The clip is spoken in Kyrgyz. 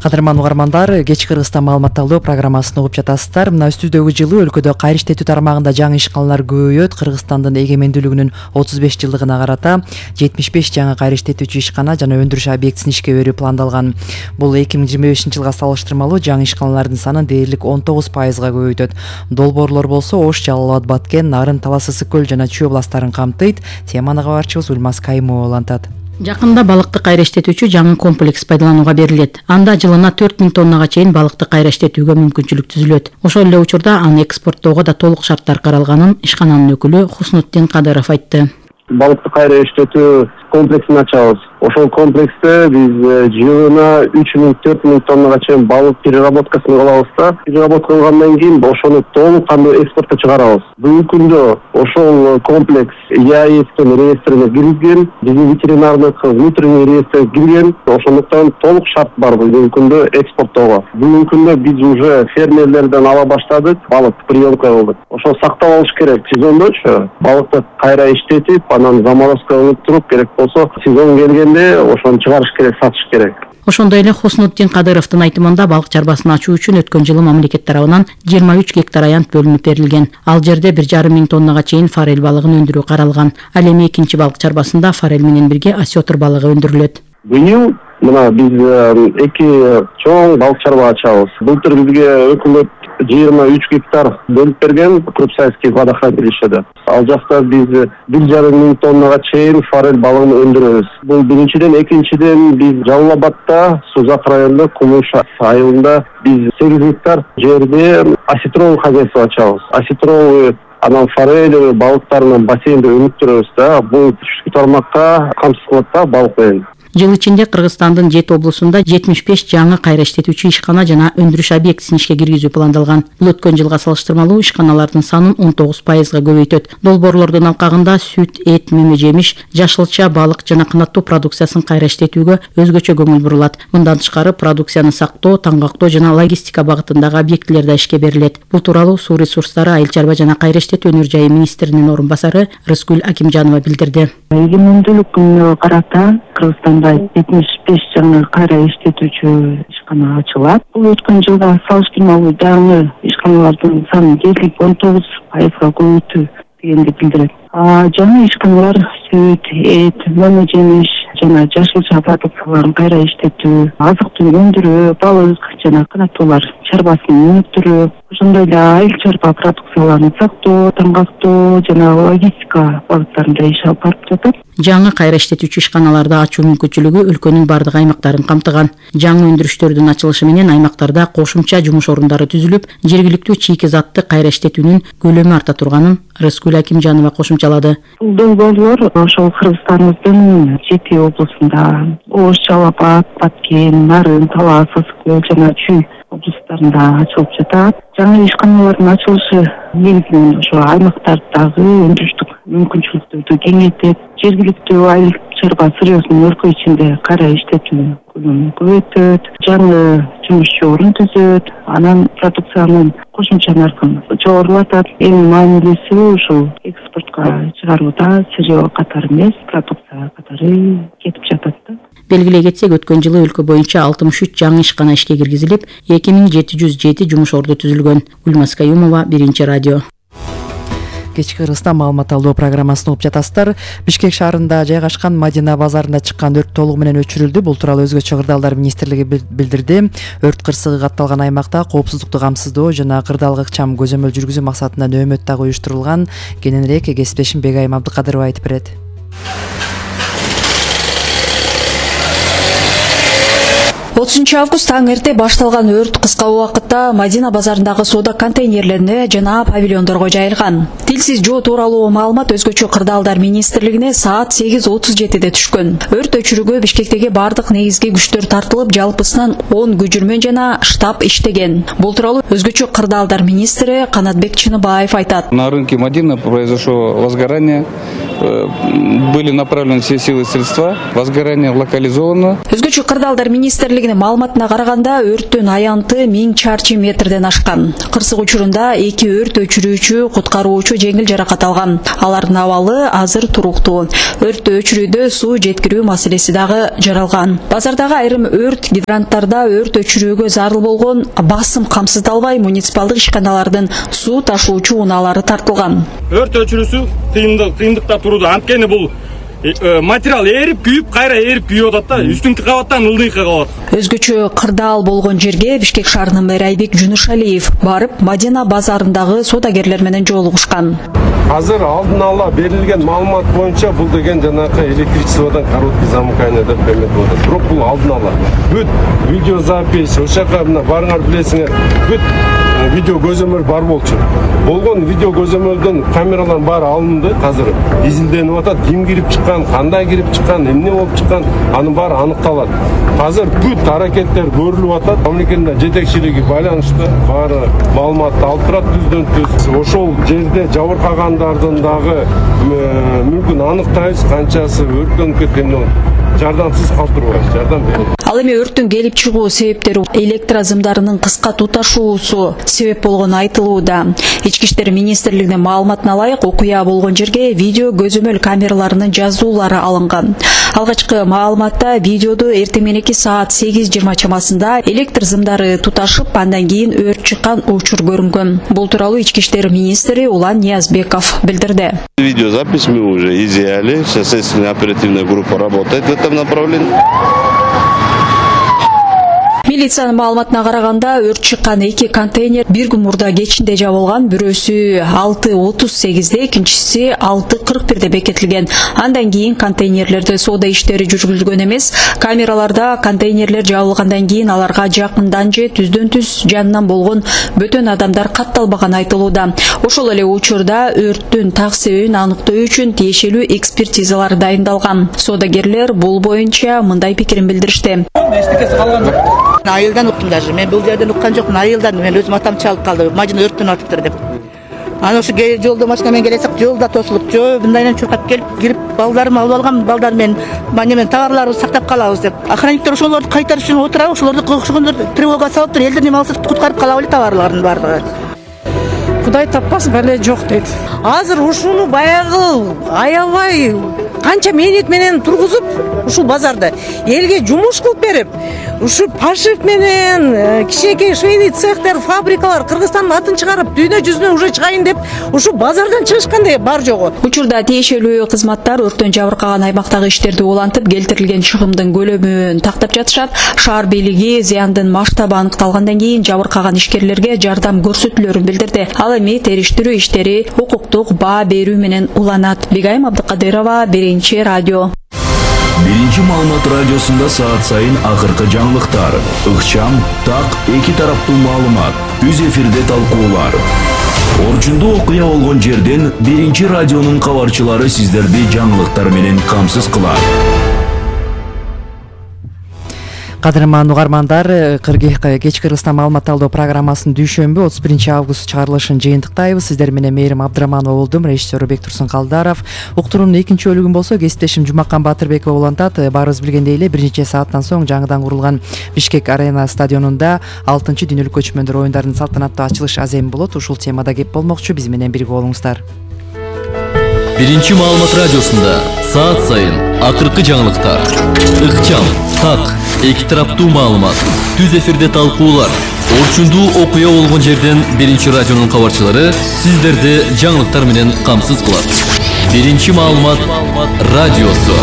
Кадырман угармандар, кечки Кыргызстан маалымат талдоо программасын угуп жатасыздар. Мына өстүбүздөгү жылы өлкөдө кайра иштетүү тармагында жаңы ишканалар көбөйөт. Кыргызстандын эгемендүүлүгүнүн 35 жылдыгына карата 75 жаңы кайра иштетүүчү ишкана жана өндүрүш объектисин ишке берүү пландалган. Бул 2025 жылга салыштырмалуу жаңы ишканалардын санын дээрлик 19%га көбөйтөт. Долбоорлор болсо Ош, Жалал Абад, Баткен, Нарын, Талас, Ысык көл жана Чүй областтарын камтыйт. Теманы кабарчыбыз Ульмаз Каймова улантат. Жакында балыкты кайра иштетүүчү жаңы комплекс пайдаланууга берилет. Анда жылына 4000 тоннага чейин балыкты кайра иштетүүгө мүмкүнчүлүк түзүлөт. Ошол эле учурда аны экспорттоого да толук шарттар каралганын ишкананын өкүлү Хуснутдин Кадыров айтты. Балыкты кайра иштетүү комплексин ачабыз. Ошол комплексте биз жылына 3000-4000 тоннага чейин балык переработкасын кылабыз да. Переработка кылгандан кийин ошону толук кандуу экспортко чыгарабыз. Бүгүнкү күндө ошол комплекс ЕАЭСтин реестрине киргизген, биздин ветеринардык внутренний реестрге кирген. Ошондуктан толук шарт бар бүгүнкү күндө экспорттоого. Бүгүнкү күндө биз уже фермерлерден ала баштадык, балык приемка кылдык. Ошол сактап алыш керек. Сезондочу балыкты кайра иштетип, анан заморозка кылып туруп, керек болсо сезон келгенде ошону чыгарыш керек, сатыш керек. Ошондой эле Хуснутдин Кадыровдун айтымында балык чарбасын ачуу үчүн өткөн жылы мамлекет тарабынан 23 гектар аянт бөлүнүп берилген. Ал жерде 1500 тоннага чейин форель балыгын өндүрүү каралган. Ал эми экинчи балык чарбасында форель менен бирге осетр балыгы өндүрүлөт. Быйыл мына биз эки чоң балык чарба ачабыз. Былтыр бизге өкмөт 23 гектар бөлүп берген Крупсайский водохранилищеде. Ал жакта биз 1500 тоннага чейин форель балыгын өндүрөбүз. Бул биринчиден, экинчиден биз Жалал Абадта, Сузак районунда Кумуш айылында биз 8 гектар жерде осетровый хозяйство ачабыз. Осетровый анан форель балыктарынын бассейнде өнүктүрөбүз да. Бул түштүк тармакка камсыз кылат да балык менен. Жыл ичинде Кыргызстандын 7 облусунда 75 жаңы кайра иштетүүчү ишкана жана өндүрүш объектисин ишке киргизүү пландалган. Бул өткөн жылга салыштырмалуу ишканалардын санын 19%га көбөйтөт. Долбоорлордун алкагында сүт, эт, меме жемиш, жашылча, балык жана канаттуу продукциясын кайра иштетүүгө өзгөчө көңүл бурулат. Мындан тышкары продукцияны сактоо, таңгактоо жана логистика багытындагы объектилер да ишке берилет. Бул тууралуу Суу ресурстары, айыл чарба жана кайра иштетүү өнөр жайы министринин орун басары Рыскүл Акимжанова билдирди. Эгемендүүлүккө карата Кыргызстанда 75 жаңы кайра иштетүүчү ишкана ачылат. Бул өткөн жылга салыштырмалуу жаңы ишканалардын санын дээрлик 19%га көбөйтүү дегенди билдирет. Жаңы ишканалар сүт, эт, меме жемиш жана жашылча продукцияларын кайра иштетүү, азык-түлүк өндүрүү, балык жана канаттуулар чарбасын өнүктүрүү, ошондой эле айыл чарба продукцияларын сактоо, таңгактоо жана логистика багыттарында иш алып барып жатат. Жаңы кайра иштетүүчү ишканаларды ачуу мүмкүнчүлүгү өлкөнүн бардык аймактарын камтыган. Жаңы өндүрүштөрдүн ачылышы менен аймактарда кошумча жумуш орундары түзүлүп, жергиликтүү чийки затты кайра иштетүүнүн көлөмү арта турганын Рыскүл Акимжанова кошумчалады. Долбоорлор ошол Кыргызстаныбыздын 7 облусунда Ош, Жалал Абад, Баткен, Нарын, Талас, Ысык көл жана Чүй облустарында ачылып жатат. Жаңы ишканалардын ачылышы негизинен ошо аймактардагы өндүрүштүк мүмкүнчүлүктөрдү кеңейтет, жергиликтүү айыл чарба сырьёсун өлкө ичинде кайра иштетүү көлөмүн көбөйтөт, жаңы жумушчу орун түзөт, анан продукциянын кошумча наркын жогорулатат. Эң маанилүүсү ушул экспортко чыгарууда сырьё катары эмес, продукция катары кетип жатат да. Белгилей кетсек, өткөн жылы өлкө боюнча 63 жаңы ишкана ишке киргизилип, 2707 жумуш орду түзүлгөн. Ульмаз Каюмова, Биринчи радио. Кечки Кыргызстан маалымат талдоо программасын угуп жатасыздар. Бишкек шаарында жайгашкан Мадина базарында чыккан өрт толугу менен өчүрүлдү. Бул тууралуу Өзгөчө кырдаалдар министрлиги билдирди. Өрт кырсыгы катталган аймакта коопсуздукту камсыздоо жана кырдаалга ыкчам көзөмөл жүргүзүү максатында нөөмөт дагы уюштурулган. Кененирээк кесиптешим Бегайым Абдыкадырова айтып берет. 30 август таң эрте башталган өрт кыска убакытта Мадина базарындагы соода контейнерлерине жана павильондорго жайылган. Тилсиз жоо тууралуу маалымат Өзгөчө кырдаалдар министрлигине саат 8:37 түшкөн. Өрт өчүрүүгө Бишкектеги бардык негизги күчтөр тартылып, жалпысынан 10 көчүрмөн жана штаб иштеген. Бул тууралуу Өзгөчө кырдаалдар министри Канатбек Чыныбаев айтат. На рынке Мадина произошло возгорание. были направлены все силы и средства. Возгорание локализовано. Өзгөчө кырдаалдар министрлигинин маалыматына караганда өрттүн аянты 1000 чарчы метрден ашкан. Кырсык учурунда 2 өрт өчүрүүчү, куткаруучу жеңил жаракат алган. Алардын абалы азыр туруктуу. Өрттү өчүрүүдө суу жеткирүү маселеси дагы жаралган. Базардагы айрым өрт гидранттарда өрт өчүрүүгө зарыл болгон басым камсыздалбай, муниципалдык ишканалардын суу ташуучу унаалары тартылган. Өрт өчүрүүсү кыйындыкта турду. Анткени бул материал эрип күйүп, кайра эрип күйүп атат да, үстүнкү кабаттан ылдыйкы кабат. Өзгөчө кырдаал болгон жерге Бишкек шаарынын мэрі Айбек Жунушалиев барып, Мадина базарындагы соодагерлер менен жолугушкан. Азыр алдын ала берилген маалымат боюнча бул деген жанакы электричестводон короткий замыкание деп берилет болот. Бирок бул алдын ала. Бүт видеозапись, ошака мына барыңар билесиңер, бүт видео көзөмөл бар болчу. Болгон видео көзөмөлдөн камералардын баары алынды, азыр изилденип атат. Ким кирип чыккан, кандай кирип чыккан, эмне болуп чыккан, анын баары аныкталат. Азыр бүт аракеттер көрүлүп атат. Мамлекеттин жетекчилиги байланыштуу баары маалыматты алып турат түздөн-түз. Ошол жерде жабыркагандардын дагы мүмкүн аныктайбыз, канчасы өрттөнүп кеткенин жардамсыз калтырбайбыз, жардам берет. Ал эми өрттүн келип чыгуу себептери электрозымдарынын кыска туташуусу себеп болгону айтылууда. Ички иштер министрлигинин маалыматына ылайык, окуя болгон жерге видео көзөмөл камераларынын жазуулары алынган. Алгачкы маалыматта видеодо эртең мененки саат 8:20 чамасында электр зымдары туташып, андан кийин өрт чыккан учур көрүнгөн. Бул тууралуу ички иштер министри Улан Ниязбеков билдирди. Видеозапись мы уже изъяли, сейчас следственная оперативная группа работает в этом направлении. Милициянын маалыматына караганда өрт чыккан 2 контейнер бир күн мурда кечинде жабылган, бирөөсү 6:38, экинчиси 6:41 бекетилген. Андан кийин контейнерлерде соода иштери жүргүзүлгөн эмес. Камераларда контейнерлер жабылгандан кийин аларга жакындан же түздөн-түз жанынан болгон бөтөн адамдар катталбаганы айтылууда. Ошол эле учурда өрттүн так себебин аныктоо үчүн тиешелүү экспертизалар дайындалган. Соодагерлер бул боюнча мындай пикирин билдиришти. Эчтекеси калган жок. Айылдан уктум даже. Мен бул жерден уккан жокмун. Айылдан мен өзүм атам чалып калды. Мажина өрттөнүп атыптыр деп. Аны ошо жолдо машина менен келесек, жолда тосулуп, мындайдан чуркап келип, кирип балдарымды алып алгам. Балдар мен товарларыбызды сактап калабыз деп. Охранниктер ошолорду кайтарыш үчүн отурабы, ошолорду кошкондор тревога салыптыр. Элдер неме алса куткарып калабы эле товарларын баардыгы. Кудай таппас, бале жок дейт. Азыр ушуну баягы аябай канча мээнет менен тургузуп, ушул базарда элге жумуш кылып берип, ушу пашев менен кичинекей швейный цехтер, фабрикалар Кыргызстандын атын чыгарып, дүйнө жүзүнө уже чыгайын деп, ушу базардан чыгышкандай бар жогу. Учурда тиешелүү кызматтар өрттөн жабыркаган аймактагы иштерди улантып, келтирилген чыгымдын көлөмүн тактап жатышат. Шаар бийлиги зыяндын масштабы аныкталгандан кийин жабыркаган ишкерлерге жардам көрсөтүлөрүн билдирди. Ал эми териштирүү иштери укуктук баа берүү менен уланат. Бегайым Абдыкадырова, Биринчи радио. Биринчи маалымат радиосунда саат сайын акыркы жаңылыктар, ыкчам, так, эки тараптуу маалымат, түз эфирде талкуулар. Орчундуу окуя болгон жерден Биринчи радионун кабарчылары сиздерди жаңылыктар менен камсыз кылат. Кадырман угармандар, кечки Кыргызстан маалымат алуу программасынын дүйшөмбү 31 август чыгарылышын жыйынтыктайбыз. Сиздер менен Мээрим Абдыраманова болдум, режиссеру Бектур Калдаров. Уктуруунун экинчи бөлүгүн болсо кесиптешим Жумакан Батырбекова улантат. Баарыбыз билгендей эле бир нече сааттан соң жаңыдан курулган Бишкек арена стадионунда 6-чы дүйнөлүк көчмөндөр оюндарынын салтанаттуу ачылыш аземи болот. Ушул темада кеп болмокчу, биз менен бирге болуңуздар. Биринчи маалымат радиосунда саат сайын акыркы жаңылыктар, ыкчам, так, эки тараптуу маалымат, түз эфирде талкуулар, орчундуу окуя болгон жерден Биринчи радионун кабарчылары сиздерди жаңылыктар менен камсыз кылат. Биринчи маалымат радиосу.